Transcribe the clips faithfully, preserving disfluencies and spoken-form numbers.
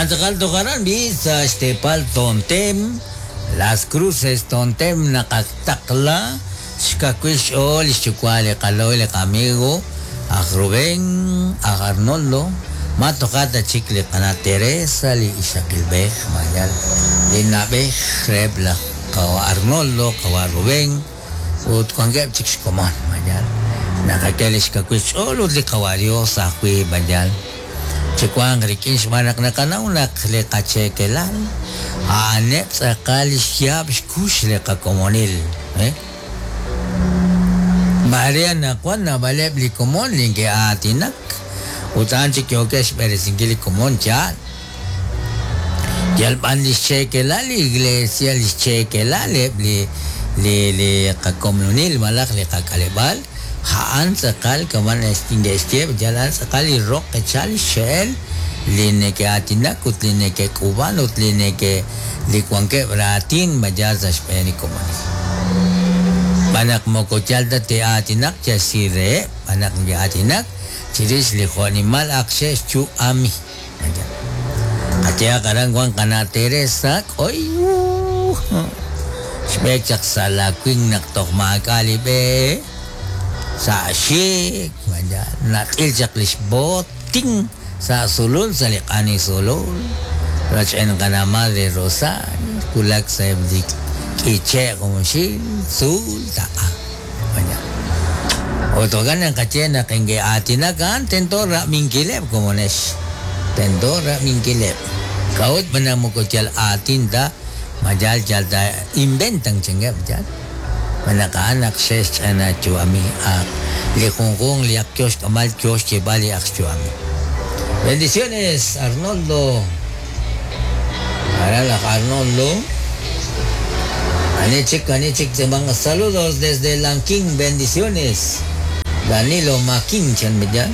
Jo'kan tz'aqal toj aran b'i sa' xteepal Tontem, Las Cruces Tontem naqataqla xkawil xch'ool li xyuwa' li qalo'y li qamigo aj Rubén, aj Arnoldo, ma toja' ta chik li qana' Teresa li ixaqilb'ej mayal li na'b'ej reheb' laj qawa' Arnoldo, qawa' Rubén ut wankeb' chik xkomon mayal naqak'e li xkawil xch'ool ut li qawa' Dios ajwi' mayal chiwanq rik'in xb'aan naq naqanaw naq li qacheekelal a'aneb' tz'aqal xyaab' xkux li qakomonil, eh? Maare anaqwan naab'aleb' li komon li neke'aatinak ut a'an chik yookeb' xb'eresinkil li komon yaal. Yal b'an li xcheekelal li iglesia, li xcheekelal eb' li li li qakomonil malaj li qak'aleb'aal a'an tz'aqal kama' neke'xye yal a'an tz'aqal li roq echal xxe'el li neke'aatinak ut li neke'k'uub'an ut li neke li wankeb' raatin mayal sa' xb'een li komonil. B'an naq moko yal ta te'aatinak yal si reheb', b'an naq neke'aatinak chirix li jo'nimal ak xe'xyu'ami. Qayehaq aran wan qana' Teresa k'oy xb'eek chaq sa' lawin naq toj maak'a' li b'e sa' xik nat'il chaq li xbotin sa' sulul sa' li q'ani sulul rach'en qana' Madre Rosario wulak sa'eb' li k'iche' junxil tzuul taq'a. Ut jo'kan naqaye naq neke'aatinak a'an tento rab'inkileb' komonex, tento rab'inkileb'. K'a'ut b'an naq moko yal aatin ta mayal yal ta inventan chankeb' yal. B'an naq a'an naq xe'xch'ana yu'ami ak li junjunq li ak yo xk'amal yo xyeeb'al li ak xyu'ami. Bendiciones, Arnoldo. Aran laj Arnoldo. Ani chik, ani chik, saludos desde Lanquín, bendiciones. Danilo Maquín, chan bidyan.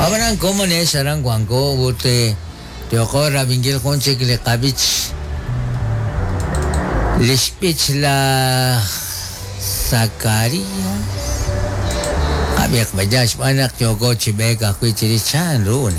Abanan komonex aran wanko ut yoko rab'inkil jun chik li qab'ich li xb'ich laj Zacarías. Qab'iq b'aya xb'aan naq yoko chi b'eek ajwi' chirix chan ru.